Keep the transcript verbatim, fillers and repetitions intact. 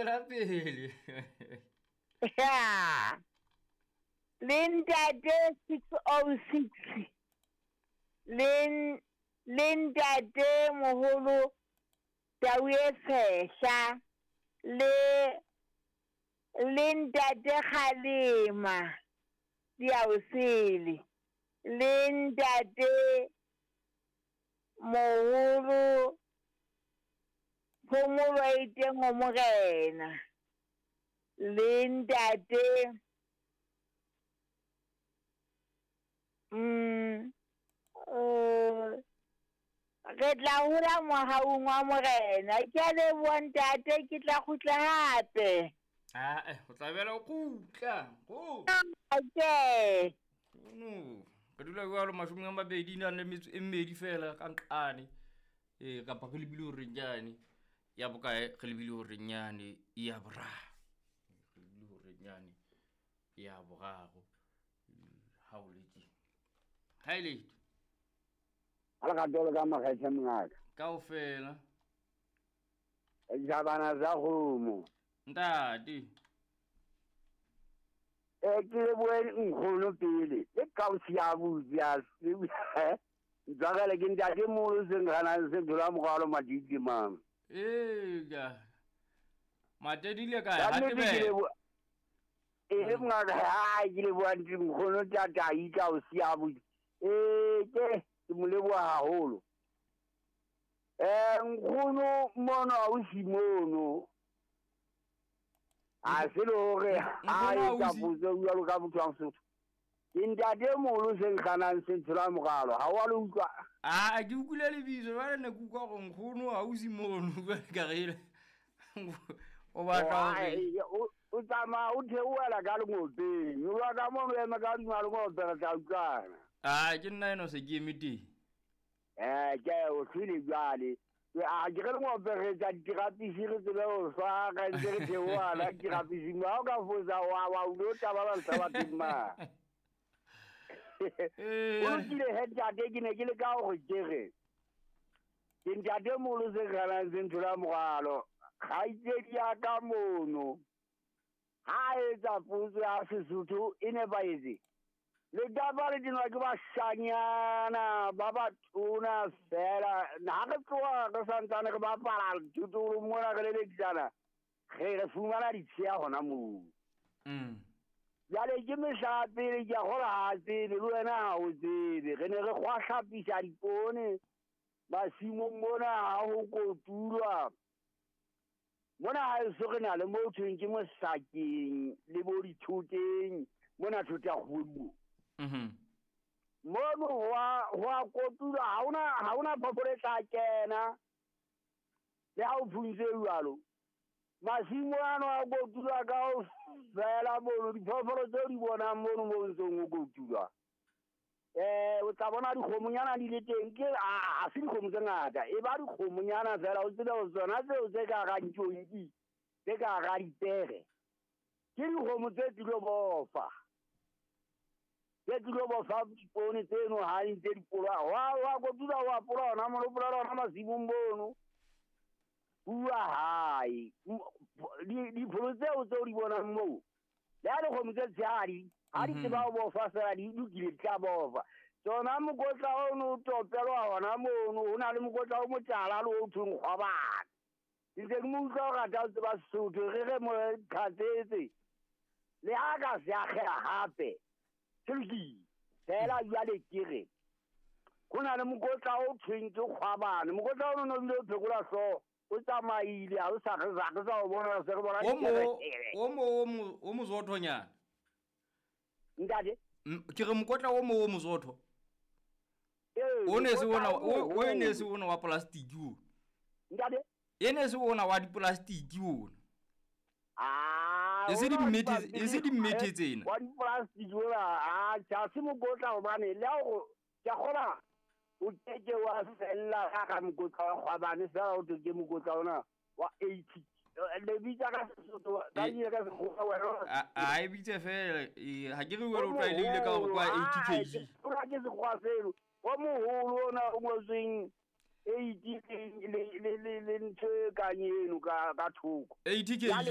Tswela pele. Ya. Le ntate six oh six. Le le ntate moholo Tau e Tshehla le le ntate Kgalema Diaosele le ntate moholo Phomolo e teng ho Morena le ntate mm eh re tla hola mohaung wa Morena. Ke a leboha ntate, ke tla kgutla hape. Ah, eh, o tla bela o kgutla. Go. Okay. No, re dula jwalo mashome a mabedi na le metso e mmedi fela ka nqane. Eh, kapa re lebile hore nyane. Ya bokae re lebile hore nyane ya boraro. Re lebile hore nyane ya boraro. Ha o le tje. Ha ile. Ala ka dolo ka makgethe mongaka. Kaofela. Jabana za kgomo. Ntate. Eh ke lebohe nkgono pele. Le kausi ya butsi ya ntswakele ke ntate moholo se nkganang se thola morwalo madidi mang. Eh ka. Matedile kae ha tebe. Eh mongaka ha ke leboha nkgono tatai kausi ya butsi. Eh ke ke mo leboha haholo. Eh nkgono mono ausi mono. A se le hore a etsa potso jwalo ka motho wa Mosotho. Ke ntate moholo se nkganang se tshola moralo. Ha wa le utlwa? Ah, ke utlwile lebitso jwale ne ke utlwa hore nkgono ausi mono jwale ka re o batla hore o tsamaya o theohela ka lengopeng. O lwa ka mono ema ka hodima lengope re tla utlwana. Ah, ke nna eno se ke eme teng. Eh, ke o hlwile jwale. A ke re lengope re etsa dirapisi re tsebe ho swara ntse re theohela dirapising. Ha o ka fosa wa wa o lo taba ba ntsa bathong ma. O lokile he ntate, ke ne ke le ka hore ke re. Ke ntate moholo se kganang se nthola morwalo. Kgaitsedi ya ka mono. Ha etsa potso ya Sesotho e nepahetse. Le taba le dinwa ke bashanyana ba batona fela. Ha re tloha re santsane re bapala thotolo mona re lelekisana, re re fumana ditsheya hona moo. Mm. Jwale ke mehla pele ke a kgolwa ha tsebe le wena ha o tsebe. Re ne re kgwahlapisa dipoone masimong mona ha ho kotulwa. Mona haeso re na le mo thweng ke mosakeng le bo dithoteng mona thota kgwebo. Mhm. Mono ho ho kotulwa ha ona ha ona phoofolo e tla kena. Le ha o phuntse jwalo. Masimo ano a kotulwa ka ho fela mono diphoofolo tseo di bonang mono mo ntsong ho kotulwa. Eh o tla bona dikgomonyana di le teng ke a se dikgomo tse ngata e ba dikgomonyana fela o tsebe ho tsona tseo tse ka ga ntjonki tse ka ga dipere ke dikgomo tse tlilo bofa tse tlilo bofa dipoone tseno ha di ntse di polwa wa wa kotula wa pola ona mono pola ona masimong mono bua hae dipholo tseo tseo di bonang moo le ha dikgomo tse tshehadi ha di tseba ho bofa fela di lokile di tla bofa. Tsona mokotla ono o topelwa hona mono ho na le mokotla o motala le o thweng kgwabane. Ke ntse ke mo utlwa ho rata ho tseba Sesotho re re mo qhatsetse. Le ha ka se akgeha hape se lokile. Fela jwale ke re ho na le mokotla o thweng ke kgwabane. Mokotla ono no bile o phekola hlooho o tsamaile ha o sa re re sa o bona se re bona O mo o mo o mozothonyana. Ntate ke re mokotla o mo o mozotho. O ne se ona o ne se ona wa plastic o. Ntate e ne se ona wa di-plastic ona. Ah, e se di mmete e se di mmete tsena. Wa di-plastic ona a cha se mokotla hobane le ha o ke kgola o ke wa fella ka ka mokotla wa kgwabane fela o ke mokotla ona wa eighty. Le bitsa ka Sesotho ka ile ka Sekgowa wena. A e bitse fela ha ke re wena o tlwaelehile ka hore kwa eighty kg. O ra ke Sekgowa seno. Wa moholo ona o ngotsweng eighty le le le ntho e kang eno ka ka thoko. eighty kg.